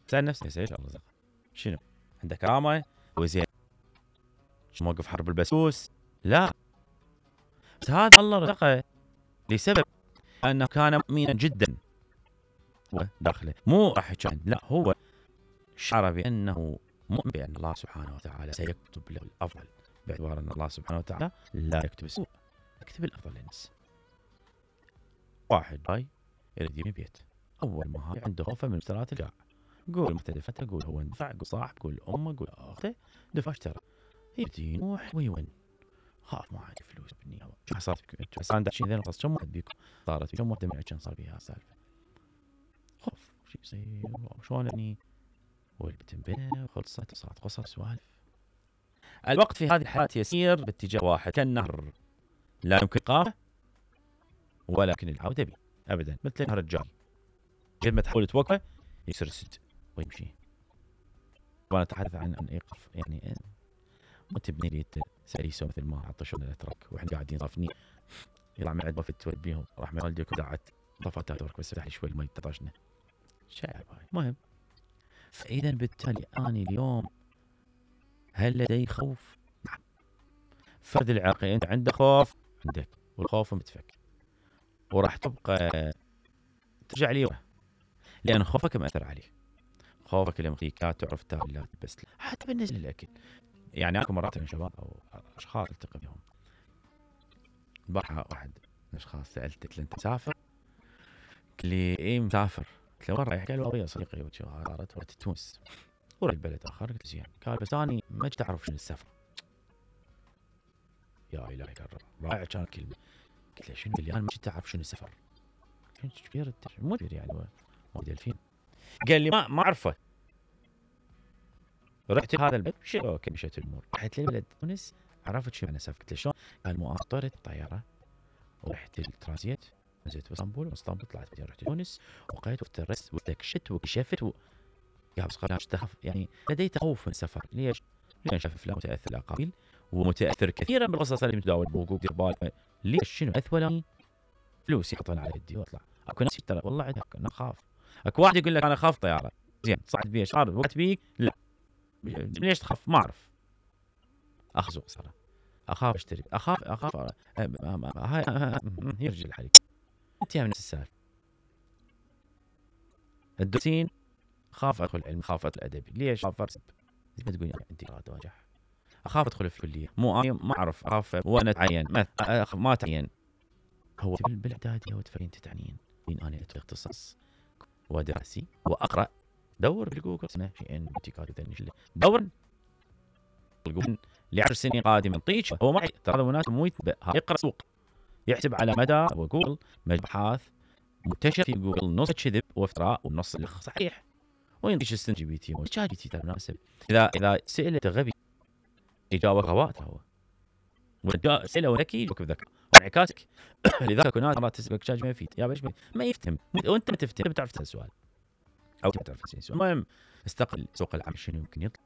سأل نفسك ايش الله رزقه؟ شنو؟ عنده كرامة؟ هو زين؟ موقف حرب البسوس؟ لا، بس هذا الله رزقه لسبب أنه كان مؤمنا جدا وداخله، مو راح يكون، لا، هو شعر بأنه مؤمن بأن الله سبحانه وتعالى سيكتب له الأفضل، باعتبار أن الله سبحانه وتعالى لا يكتب السوء، يكتب الأفضل للناس. واحد جاي يريد يبني بيت، أول ما هاي عنده خوفه من اشترات القاع، قول مختلفته، قول هو اندفع، قول صاحب، قول أمه، قول أخته، دفع اشترى، يبدي ينوح ويون، خاف ما عندي فلوس بالنهاية. شو صارت بكم انتم؟ هسه عندك شيء ذي نقص، كم واحد بيكم صارت بكم واحدة من عشان صار بيها سالفة خوف شو يصير شلون يعني، والبت انبنى وخلصت وصارت قصص سوالف. الوقت في هذه الحياة يسير باتجاه واحد كالنهر، لا يمكن إيقافه ولكن العودة به أبدا، مثل النهر الجاري، قد ما تحاول توقفه يسرسد ويمشي. وأنا أتحدث عن إيقاف، يعني مو تبني لي سريسو مثل ما عطشون الأتراك واحنا قاعدين صافني يطلع من عند وفد توديهم راح من والديك ودعت طفت تاتورك بس فتح لي شوي المي تطشنا شايب هاي. المهم، فإذا بالتالي أنا اليوم هل لدي خوف؟ نعم. فرد العراقي أنت عندك خوف، عندك، والخوف متفك، وراح تبقى ترجع لي لأن خوفك مأثر عليك، خوفك لما يخليك لا تعرف تاكل لا تلبس، حتى بالنسبة للأكل. يعني أكو مرات من شباب أو أشخاص التقي بهم، البارحة واحد من الأشخاص سألته قلت له أنت مسافر؟ قال لي إيه مسافر. قلت له وين رايح؟ قال والله صديقي رحت تونس ورحت بلد آخر. قلت زين، قال بس أنا ما جيت أعرف شنو السفر. يا إلهي قرر رائع كان كلمة. قلت له شنو؟ قال لي أنا ما جيت أعرف شنو السفر. كنت كبير مو كبير يعني مواليد 2000. قال لي ما أعرفه. رحت هذا البلد اوكي مشيت الامور، رحت لبلد تونس عرفت شو معنى سفر. قلت له شلون؟ قال مو طرت الطياره ورحت الترانزيت، نزلت باسطنبول، اسطنبول طلعت بعدين رحت تونس وقيت وافترست واستكشفت وكشفت يا بس قال اشتخف، يعني لدي تخوف من السفر. ليش؟ لان شاف افلام متاثر الاقاويل ومتاثر كثيرا بالقصص اللي متداول بوقوق دير بالك. ليش؟ شنو اثولاني فلوس يحطون على يدي واطلع. اكو ناس ترى والله عندك انا اخاف، اكو واحد يقول لك انا اخاف طياره، زين صعد بيها صار وقت بيك، لا ليش تخاف؟ ما اعرف، اخزق صراحه، اخاف اشتري، اخاف هاي يرجع الحريق. انت من نفس السالفه. الدرسين خاف ادخل علم، خاف ادخل ادبي، ليش؟ خاف ارسب. ما تقول يعني عندي اراده واجح، اخاف ادخل في الكليه، مو انا ما اعرف، اخاف وانا اتعين ما تعين. هو بالاعداديه وتفين تتعنين بين انا ادخل اختصاص ودراسي واقرا، دور بالجوجل اسمه شيئين ابتكار دور الجوجل ل10 سنين قادمه طيش. هو معي ترى هذا مناسب، مو يقرا سوق، يحسب على مدى وجوجل ابحاث منتشر في جوجل نص كذب وافتراء والنص صحيح، وينطيش السن جي بي تي وشات جي تي مناسب. اذا سئلت غبي اجابه غباء هو، ودا سئله ذكي يجاوبك بذكاء وانعكاسك. لذلك اكو ناس مرات تسالك شات ما يفيد، يا باش ما يفتهم، وانت ما تفتهم، بتعرف تسال سؤال او تعرف تسال سؤال. المهم استقل سوق العمل شنو يمكن يطلع،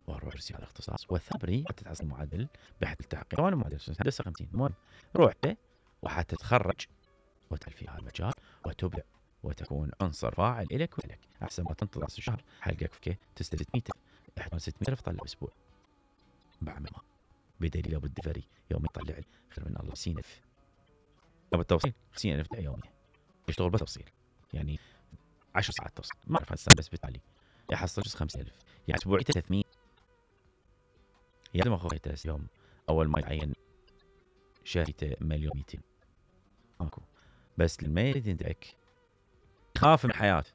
واروح ارسي على اختصاص وثبري حتى تحصل معدل بحث التحقيق. وانا معدل هندسه 50. المهم روحت وحتى تتخرج وتدخل في هذا المجال وتبدع وتكون عنصر فاعل لك ولك، احسن ما تنتظر راس الشهر حلقك فكه تستلم 600 احتمال 600 طلع باسبوع بعمل ما بدليل ابو الدفري يوم يطلع لي خير من الله 50000 ابو التوصيل 50000 يوميا يشتغل بس توصيل، يعني 10 ساعات توصيل، ما اعرف هسه بس بالتالي يحصل 5000 يعني اسبوعي 300. يا زلمه اخوي يوم اول ما يعين شريته 1,200,000 ماكو، بس لما يريد يدعك خاف من حياته